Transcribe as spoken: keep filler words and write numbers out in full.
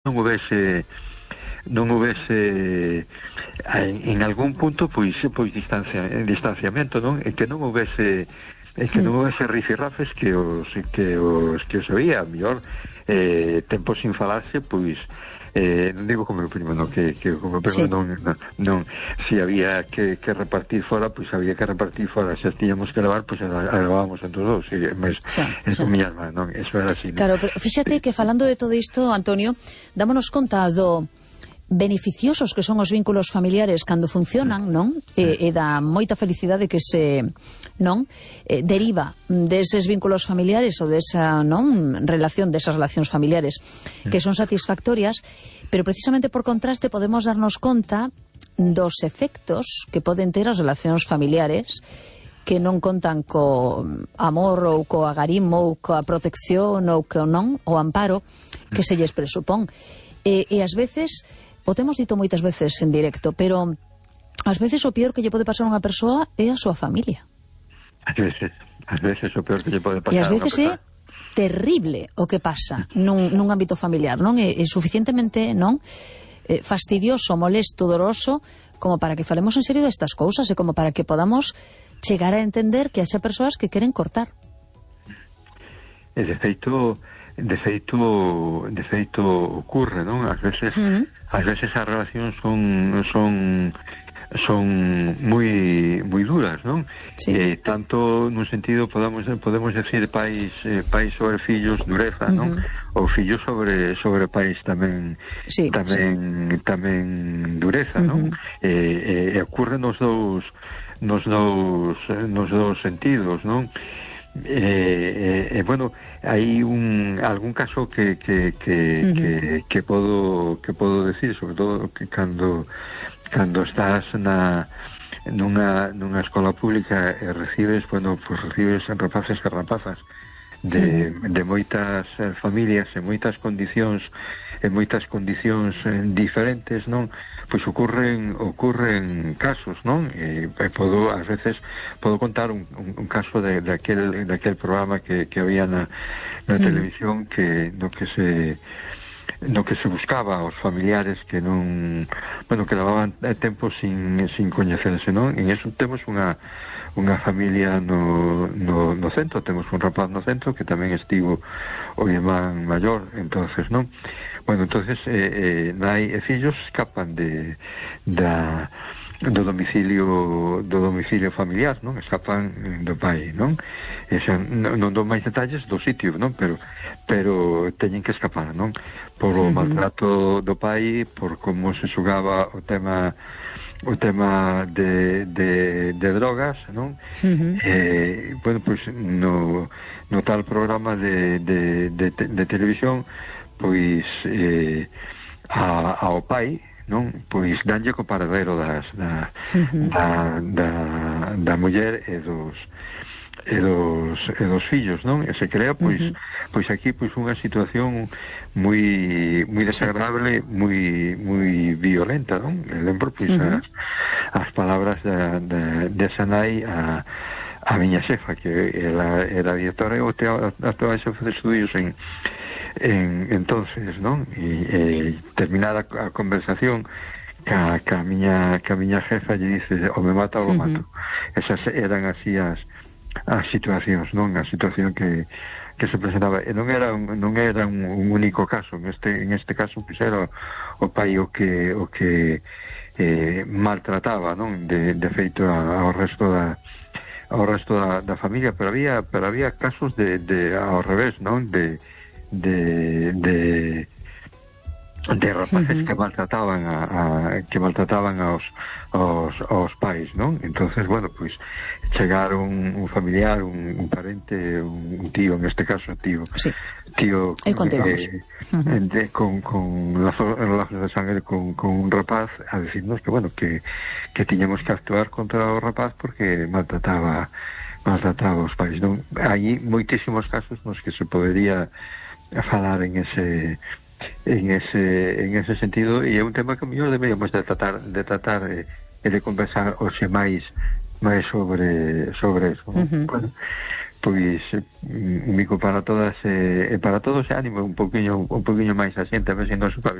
non houvese non houvese en, en algún punto pois pois distancia, distanciamento, non? E que non houvese e que non houvese rifirrafes que os que os que os oía, mellor eh, tempo sin falarse, pois eh, non digo como o primo, no, que, que como o primo sí. non, non, non si había que, que repartir fora, pois había que repartir fora, se tiñamos que levar, pois levábamos entre os dous, e, mas sí, eso sí. Miña irmá, non, eso era así. Claro, pero fíxate que falando de todo isto, Antonio, dámonos conta do beneficiosos que son os vínculos familiares cando funcionan, non? E, e da moita felicidade que se, non? Eh, deriva deses vínculos familiares ou desa, non? Relación, desas relacións familiares que son satisfactorias, pero precisamente por contraste podemos darnos conta dos efectos que poden ter as relacións familiares que non contan co amor ou co agarimo ou coa protección ou co non, o amparo que se lles presupón. E, e ás veces, o temos dito moitas veces en directo, pero ás veces o peor que lle pode pasar a unha persoa é a súa familia. Ás veces, ás veces o peor que lle pode pasar a unha persoa. E ás veces é terrible o que pasa nun, nun ámbito familiar, non? É, é suficientemente, non? Eh, fastidioso, molesto, doloroso, como para que falemos en serio destas cousas e como para que podamos chegar a entender que haxa persoas que queren cortar. E de feito... de feito de feito ocurre, non? Ás veces uh -huh. ás veces as relacións son son son moi moi duras, non? Sí. Eh, tanto nun sentido podemos podemos decir pais eh, pais sobre fillos dureza, uh -huh. non? Ou fillos sobre sobre pais tamén sí, tamén sí. tamén dureza, uh -huh. non? Eh, eh, ocurre nos dous nos dous nos dous sentidos, non? Eh, eh, eh, bueno, hai un algún caso que que que, uh -huh. que que podo que podo decir, sobre todo que cando cando estás na nunha nunha escola pública e recibes, bueno, pues recibes rapaces e rapazas de, uh -huh. de moitas eh, familias e moitas condicións en moitas condicións eh, diferentes, non? Pois ocurren ocurren casos, non? E, e podo, ás veces, podo contar un, un, un caso de, de, aquel, de aquel programa que, que había na, na mm. televisión que no que se no que se buscaba aos familiares que non, bueno, que levaban tempo sin, sin coñecerse, non? En eso temos unha unha familia no, no, no centro, temos un rapaz no centro que tamén estivo o irmán maior, entonces, non? Bueno, entonces eh, eh, nai e fillos escapan de da do domicilio do domicilio familiar, non? Escapan do pai, non? E xa, non, non dou máis detalles do sitio, non? Pero pero teñen que escapar, non? Por o maltrato do pai, por como se xogaba o tema o tema de, de, de drogas, non? Uh-huh. Eh, bueno, pois pues, no, no tal programa de, de, de, de televisión, pois eh, a, ao pai, non? Pois danlle co paradero das, da, uh-huh. da, da, da muller e dos e dos, e dos fillos, non? E se crea, pois, uh-huh. pois aquí, pois unha situación moi moi desagradable, moi moi violenta, non? E lembro, pois, uh-huh. as, as palabras da, da, de Sanai a, a miña xefa, que ela era directora e actuaba xefa de estudios en en entonces, non? E, e terminada a conversación ca, ca, miña, ca miña jefa lle dice, o me mata ou o mato. Uh-huh. Esas eran así as as situacións, non? A situación que que se presentaba, e non era un, non era un, un único caso, en este en este caso pois era o pai o que o que eh, maltrataba, non? De, de feito ao resto da ao resto da, da familia, pero había pero había casos de, de ao revés, non? De de de de rapaces uh-huh. que maltrataban a, a que maltrataban aos, aos aos pais, non? Entonces, bueno, pois pues, chegar un, un familiar, un, un parente, un, un tío, en este caso tío, sí. tío eh, uh-huh. de, con, con lazos, lazos de sangre con, con un rapaz a decirnos que, bueno, que, que tiñamos que actuar contra o rapaz porque maltrataba maltrataba aos pais, non? Hai moitísimos casos nos que se podería falar en ese en ese en ese sentido, e é un tema que mellor deberíamos de tratar de tratar e de, de conversar hoxe máis máis sobre sobre eso, ¿no? Uh-huh. Bueno, pois un bico para todas e eh, para todos, ánimo un poquinho un poquinho máis asiente, a ver se nos